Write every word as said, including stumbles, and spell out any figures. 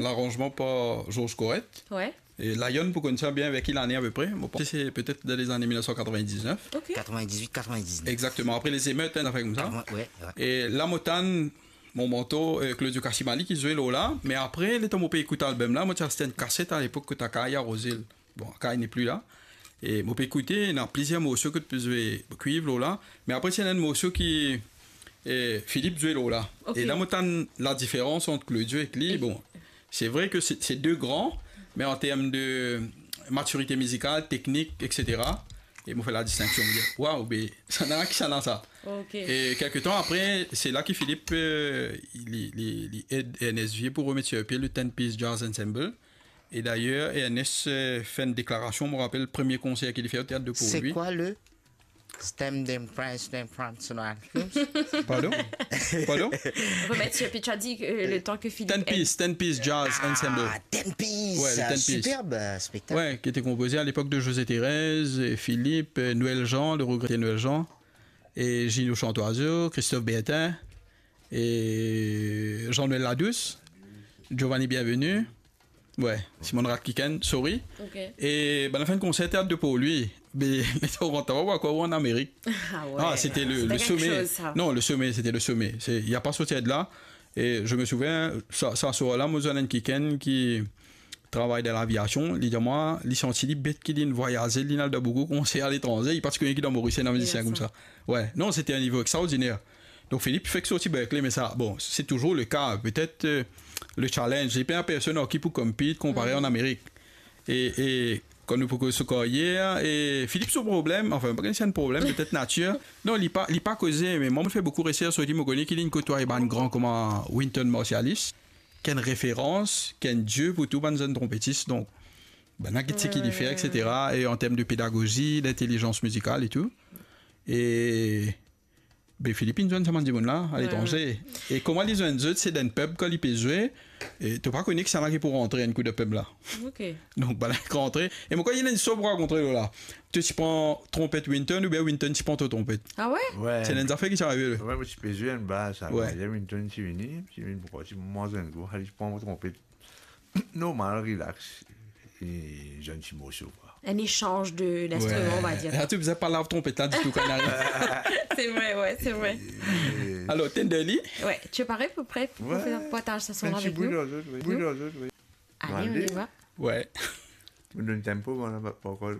Laranzman par Georges Corrette. Ouais. E Lion pou konn sa bien, ver ki lane apepre? Mo panse se petet dan lezane mil nef san katrevin-diznef. Ok. Katrevin-diznef, katrevin-diznef. Exactement. Apre les émeutes, hein, zafer koumsa. Katrevin, ouais, ouais. E La Montagne, Mon Manteau, euh, Claudio Cassimali ki zwe lor la. Me apre, letan mo pe ekout album la, mo ti aste enn kaset alepok kot Akay Arozel. Bon, Akay n'est plus là. E mo pe ekoute, ena plizier morso kot pe zwe kwiv lor la. Me apre, ti ena enn morso ki, eh, Philippe zwe lor la. Ok. E la, mo tann ladiferans ant Claudio ek li. E bon, c'est vrai que c'est, c'est deux grands, mais en termes de maturité musicale, technique, et cetera, e mo fer ladistinksion, mo dir, waw, be, sa nanye ki sa nanye sa. Ok. E kelke tan apre, se la ki Philippe, euh, li, li, li ed Ernest Vier pou remet sir pie le Ten Piece Jazz Ensemble. E dayer, Ernest, euh, fer enn deklarasion, mo rapel premie konser ki li fer o Théâtre de Port-Louis. C'est quoi le Stem dem Prince dem France Noir? Pardon? Pardon? Remet sir pie, tu as dit que le temps que Philippe Ten Piece, Ten Piece Jazz Ensemble. Ah, Ten Piece, ouais, le Ten Piece. Superbe, euh, spectacle. Ouais, qui était composé à l'époque de José Thérèse, et Philippe, euh, Noël Jean, le regretté Noël Jean, et Gino Chantoiseau, Christophe Bertin, et Jean-Noël Ladouce, Giovanni Bienvenu. Ouais, Simon Radkiken, sorry. Ok. E bann la fer enn konser Théâtre de Port-Louis. Me, me to rant, ou krwar ou an Amerik. Ah ouais. Ah, c'était le, c'était le quelque sommet. Chose, ça. Non, le sommet, c'était le sommet. C'est, il y a pas sorti de là. E je me souviens, sa, sa swar la, mo zwenn enn kikenn ki travay dan laviasion, li dir mwa, li santi li bet ki linn vwayaze, linn al dan boukou konser aletranze, li pa ti kone ki dan Moris ena mizisien koumsa. Ouais, non, c'était un niveau extraordinaire. Donk, Philippe fek sorti Berklee, me sa, bon, c'est toujours le cas. Peut-être, euh, le challenge, li pena personn ar ki pou compete, konpare an Amerik. E, e kan nou pou koz so karyer, e Philippe so problem, anfin, pa kone si enn problem, petet natir. Non, li pa, li pa koze, me mwa, mo fer boukou resers lor li, mo kone ki linn kotwaye bann gran kouma Wynton Marsalis, ki enn referans, ki enn die pou tou bann zenn tronpetis. Donk, bann la get seki li fer, et cetera. E an term de pedagozi, lintelizans mizikal e tou. E Be, Philippe inn zwenn sa bann dimoun la, aletranze. Ouais, ouais. E kouma li zwenn zot, se dan enn pub kan li pe zwe, e to pa kone kisannla ki pou rantre enn kou dan pub la. Ok. Donk, bann la rantre. E mo krwar ena enn istoir pou rakonte lor la. To ti pran tronpet Wynton oubien Wynton ti pran to tronpet? Ah ouais? Ouais. Se enn zafer ki ti arive. Ouais, mo ti pe zwe enn baz, sa. Ouais. Wynton ti vini, ti vini pou ti mwa enn kou, li pran mo tronpet. Normal, relax. E zwenn ti morso, kwa. Un échange de, d'instruments, on va dire. La, to bizin pa lav tronpet la ditou kan li ariv. C'est vrai, ouais, c'est vrai. E, alors, Tenderly? Ouais, tu es paré à peu près pour faire un partage ce son-là avec nous? Enn ti bout lor zot, oui. Bout lor zot, oui. Allez, on y va. Ouais. Mo donn tempo, mwa, la, pa, pa ankor.